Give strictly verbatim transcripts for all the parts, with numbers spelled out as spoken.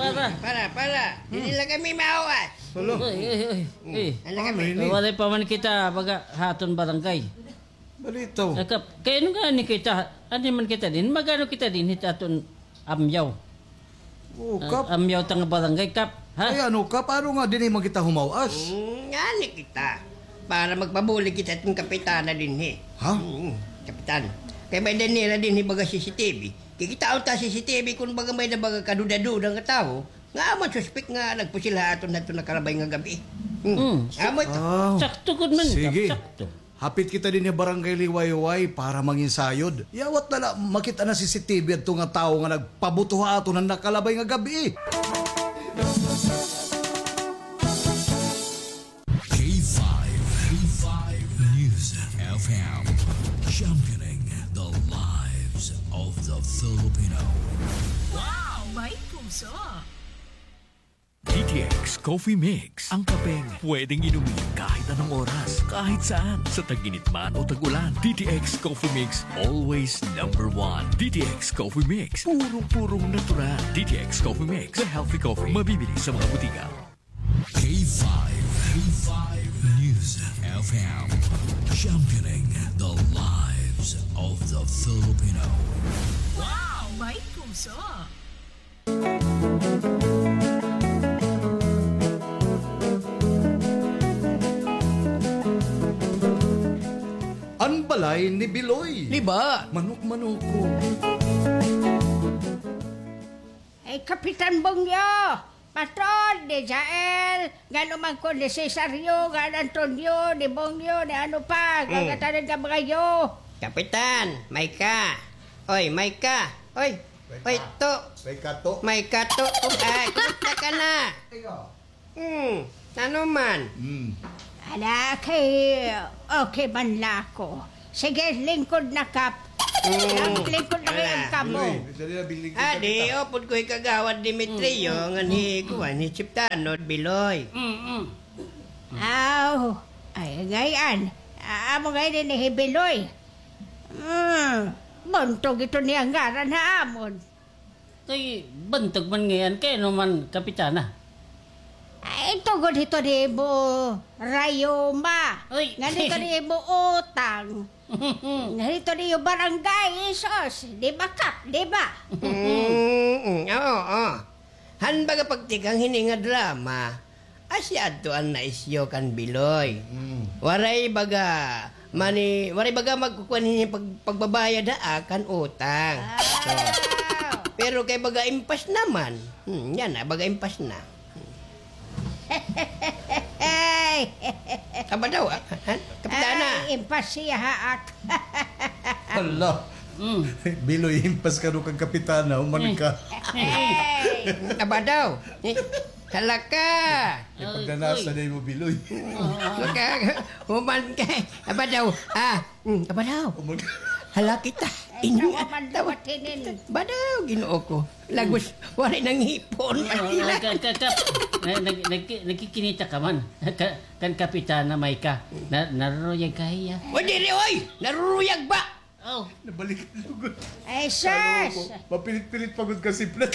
Para. Para, para. Diri la kami mahuwas. Hala. Uy, uy, uy, uy. Ano kami? Ano ini? Walay pa man kita baga ha aton barangay. Balitaw. Kap, kay ano ngani kita, ano man kita dinhi, mag-ano kita dinhi ha aton amyaw. O, Kap. Amyaw ta nga barangay, Kap, ha? Ay, ano, Kap, ano nga dinhi man kita humawas? Hmm, ngani kita. Para magpabulig kita ha aton kapitana dinhi. Ha? Hmm, kapitan. Kay may-ada nira dinhi baga C C T V. Kikitaon ta C C T V kon baga may-ada baga kaduda-duda nga tawo. Nga amo an suspek nga nagpusil ha aton hadto nakalabay nga gab-i. Hmm. Amo ito. Sakto gud man, Kap, sakto. Hapit kita dinhi ha Barangay Liwayway para manginsayod. Yawat na la makit-an ha C C T V adto nga tawo nga nagpabuto ha aton han nakalabay nga gab-i. K five, K five News F M, championing the lives of the Filipino. Wow! May puso! D T X Coffee Mix, ang kapeng pwedeng inumin kahit anong oras, kahit saan, sa tag-init man o tag-ulan. D T X Coffee Mix, always number one. D T X Coffee Mix, purong-purong natural. D T X Coffee Mix, the healthy coffee, mabibili sa mga butika. K five, K five News F M, championing the lives of the Filipino. Wow! May puso! An balay ni Biloy. Liba. Manok-manoko. Ay, Kapitan Bongyo! Patod, ni Jael, ngan-o man ko ni Cesario, ngan Antonio, ni Bongyo, ni ano pa, ngatanan nga mga yo. Kapitan, may ka. Oy, may ka. Oy, oy, to. May ka to. May ka to. Ay, kumusta ka na? Hmm, ano man? Hmm. Ala, kay okay man la ako. Sige, lingkod na, Kap. Lingkod na kay kamo. Adi, upod ko hi Kagawad Demetrio, ngan hi kuan, hi Chiptano, Biloy. Aw, ay, ngay-an. Amo ngay-an ini hi Biloy. Hmm, buntog ito niya ngaran ha amon. Kay bantog man ngay-an, kay ano man, Kapitana? Ay, tugod hito di mo rayuma. Uy. Ngan hito di mo utang. Ngan hito di mo barangay, isos. Di ba, Kap? Di ba? Mm, mm, oo, oo. Han baga pagtikang hini nga drama, asya adto an naisyu kan Biloy. Mm. Waray baga mani, waray baga magkukuan hini pag-, pagbabayad ha akan utang. Ah. So, pero kay baga impas naman. Hmm, yana, baga impas na. Aba daw, ah, ha? Kapitana. Ay, impas siya ha ak. Hala. Mm. Biloy, impas ka daw kan Kapitana, human ka. Ay. Aba daw. Eh, hala ka. Ay, pagdanasa na imo, Biloy. Maka-, human ka. Aba daw. Ah, mm, aba daw. Human ka. Hala kita. Ay, tawa man liwat hinin. Aba daw, Ginoo ko. Lagos, waray na ngipon. Ka-, ka-, ka-, na-, nag-, nag-, nagkikinita ka man. Ka-, kan Kapitana may ka. Na-, naruruyag ka hiya. O, diri, oy! Naruruyag ba? Oh. Nabalik na gud. Ay, sus! Mapilit-pilit pa gud ka siplat.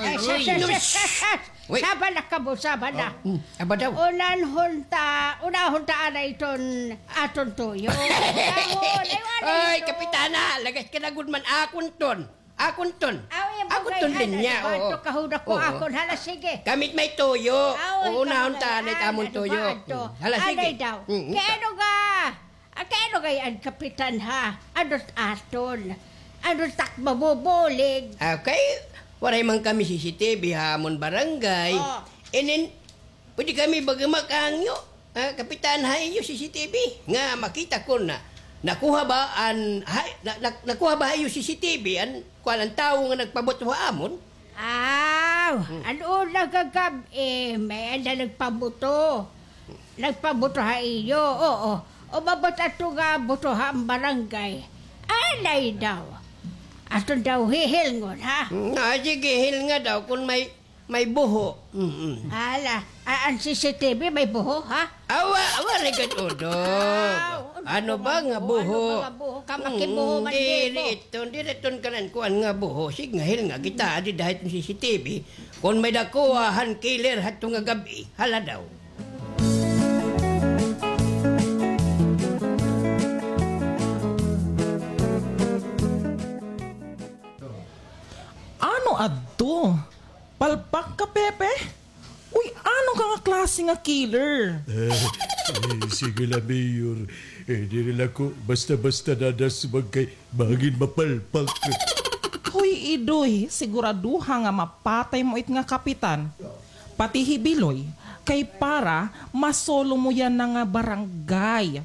Ay, sus, sus, sus, sus, sus. Uy. Sabala ka mo, sabala. Aba daw. Unahon ta, unahon ta anay iton aton tuyo. Unahon, ay, wala. Oy, Kapitana, lagas ka na gud man, akon ton. Akon ton. Akon ton linya, oo. Kahuna ko akon. Hala, sige. Kami it may tuyo. Unahon ta anay it amon tuyo. Hala, sige. Anay daw. Kay ano nga, ah, kay ano ngay-an, Kapitan, ha? Ano it aton? Ano it ak mabubulig? Ah, kay waray man kami C C T V ha amon barangay. Oh. Inin, pwede kami baga makahangyo. Ah, Kapitan, ha iyo C C T V nga makita kon nakuha ba an, ha, na, na, nakuha ba ha iyo C C T V an kuan, an tawo nga nagpabuto ha amon? Aw, an una nga gab-i, may-ada nagpabuto. Nagpabuto ha iyo, oo. Umabot adto nga buto ha barangay. Anay daw. Aton daw hihilngon, ha? Hmm, ah, sige, hilnga daw kon may May buho. Mm-mm. Hala, a-, an C C T V may buho, ha? Awa, awa, rigad udog. Aw, ano ba nga buho? Ano ba nga buho? Kamakibuho man dito. Diri iton, diri iton kanan kuan nga buho. Sige nga, hilnga kita, adi dahit an C C T V. Kon may dakuha han killer hadto nga gab-i, hala daw. Ano adto? Palpak ka, Pepe? Uy, ano ka nga klase nga killer? Eh, eh, sige la, Mayor. Eh, diri la ko basta-basta nadasmag kay bangin mapalpak. Hoy, Idoy, siguraduha nga mapatay mo it nga kapitan. Pati hi Biloy, kay para masolo mo yana nga barangay.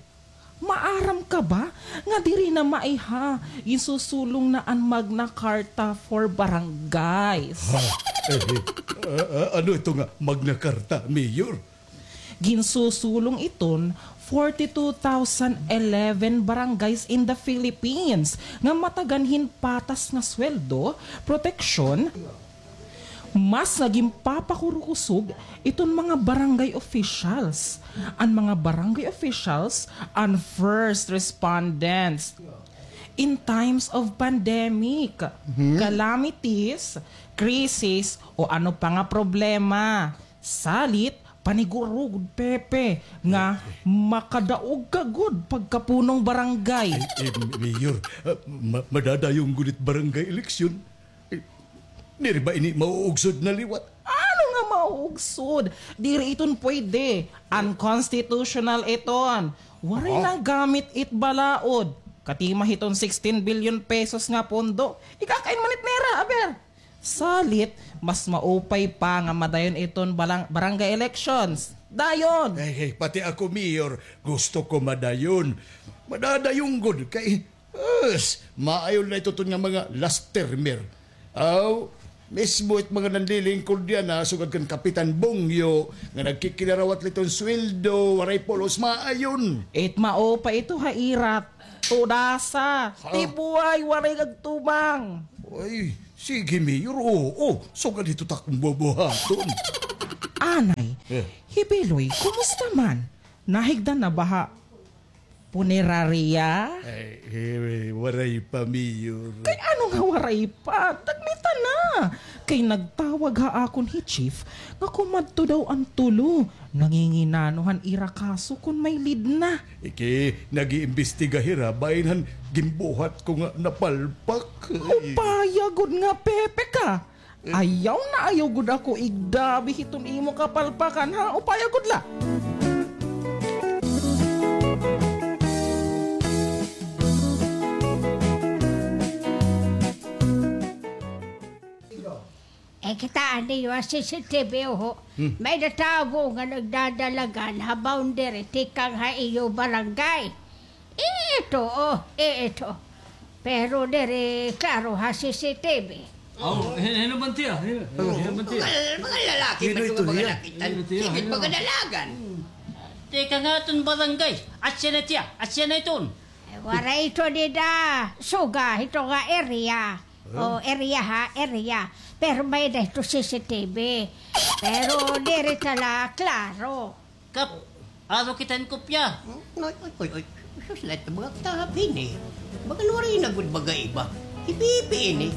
Maaram ka ba nga diri na maiha, ginsusulong na an Magna Carta for Barangays. Ha? Eh, eh, a-, a-, ano ito nga Magna Carta, Mayor? Ginsusulong iton forty-two thousand eleven barangays in the Philippines nga matagan hin patas nga sweldo, proteksyon, Mas nga ginpapakurukusog iton mga barangay officials. An mga barangay officials, an first respondents. In times of pandemic, calamities, crisis, o ano pa nga problema, salit, paniguro gud, Pepe, nga makadaog ka gud pagkapunong barangay. Ay, eh, Mayor, ah, ma-, madadayon gud it barangay eleksyon. Eh, diri ba ini mauugsod na liwat? Ano nga mauugsod? Diri iton pwede. Unconstitutional iton. Waray nagamit it balaod. Katima hiton sixteen billion pesos nga pondo. Ikakain man it nira, aber. Salit, mas maupay pa nga madayon iton balang-, barangay elections. Dayon! Ay, ay, pati ako, Mayor, gusto ko madayon. Madadayon gud kay Us, maayo la ito ton nga mga last termer. Aw, mismo it mga nanlilingkod yana, sugad kan Kapitan Bongyo, nga nagkikinarawat la iton sweldo, waray pulos, maayon. It mao pa ito ha ira, tudasa, tibuay, waray agtumang. Ay, sige, Mayor, oo, sugad ito takong bubuhaton. Anay, hi Biloy, kumusta man? Nahigdan na ba ha punerarya? Ay, eh, waray pa, Mayor. Kay ano nga waray pa? Tagmita na. Kay nagtawag ha akon hi Chief nga kumadto daw an tulo. Nanginginano han ira kaso kon may lead na. Iki, nag-iimbestiga hira bahin han ginbuhat ko nga napalpak. Upaya gud nga Pepe ka. Ayaw na ayaw gud ako igdabi hiton imo kapalpakan, ha? Upaya gud la. Eh, kitaa niyo ha C C T V, oho. May natawo nga nagdadalagan ha boundary tikang ha iyo barangay. Ito, oh, ito. Pero diri klaro ha C C T V. Aw, hin-, hin-o man tiya? Hin-, hin-o man tiya? Mga, mga lalaki man ito nga mga nakit-an. Hin-o tiya? Sige, mga dalagan. Tikang ha aton barangay. Asya na tiya, asya na iton. Eh, waray ito dida. Suga, ito nga area. O, area ha, area. Pero may-ada ito C C T V. Pero diri tala klaro. Kap, aro kita hin kopya. Hmm? Oy, oy, oy, oy. Sus, lahat na mga katahap ini. Baga waray na gud baga iba. Ipipi ini.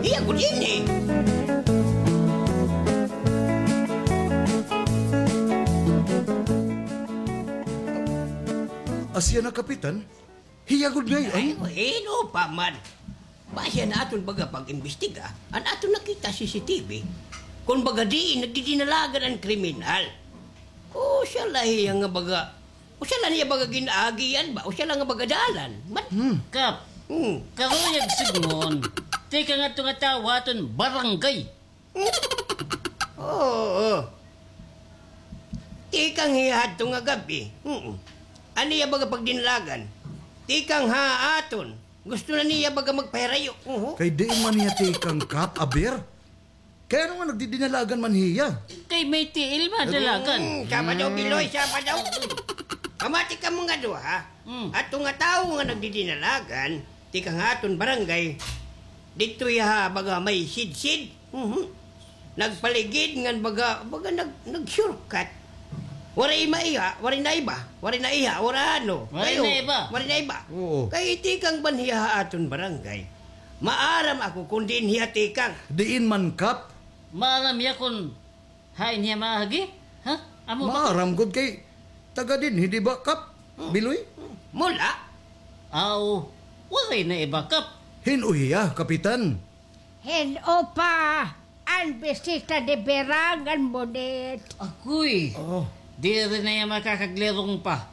Iya gud ini. Asya na, Kapitan. Hiya gud ngay-an. Ay, hin-o pa man. Basi an aton baga pag-imbestiga, an aton nakita C C T V, kon baga diin nagdidinalagan an kriminal. O, siya la hiya nga baga, o siya la niya baga gin-aagian ba, o siya la nga baga dalan. Man. Hmm. Kap, hmm, karuyag sidngon, tikang hadto nga tawo ha aton barangay. Oo. Tikang hiya hadto nga gab-i. Mm. An iya baga pagdinalagan. Tikang ha aton. Gusto na niya baga magpahirayo. Uhu. Kay diin man hiya tikang, Kap, aber? Kay ano nga nagdidinalagan man hiya? Kay may tiil man dalagan. Mm, siya pa daw, Biloy, siya pa daw. Kamati kamo nga duha, ha? Mm. Hadto nga tawo nga nagdidinalagan, tikang ha aton barangay, didto hiya ha baga may sidsid. Mhm. Nagpaligid ngan baga, baga nag-, nag-shortcut. Waray maiha, waray naiba, waray naiha, waray ano. Waray naiba. Waray naiba. Oo. Kay tikang ba hiya ha aton barangay. Maaram ako kon diin hiya tikang. Diin man, Kap? Maaram hiya kon hain hiya maagi? Ha? Amo ba? Maaram gud kay taga dinhi, di ba, Kap? Hmm. Biloy? Mula? Aw, waray naiba, Kap. Hin-o hiya, Kapitan? Hin-o pa an bisita ni Birang ngan Monit? Agoy. Oh. Diri na hiya makakaglirong pa.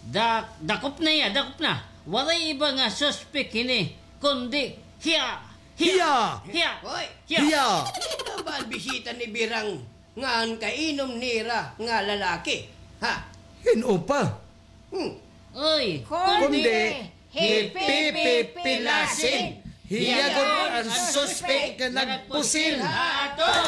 Da-, dakop na hiya, dakop na. Waray iba nga suspek hini, kundi hiya. Hiya! Hiya! Hoy! Hiya! Hiya! Hin-o ba an bisita ni Birang ngan kainom nira nga lalaki? Ha? Hin-o pa? Hmm. Oy, kundi hi Pipi Pilasin. Hiya gud an suspek nga nagpusil. Ha aton.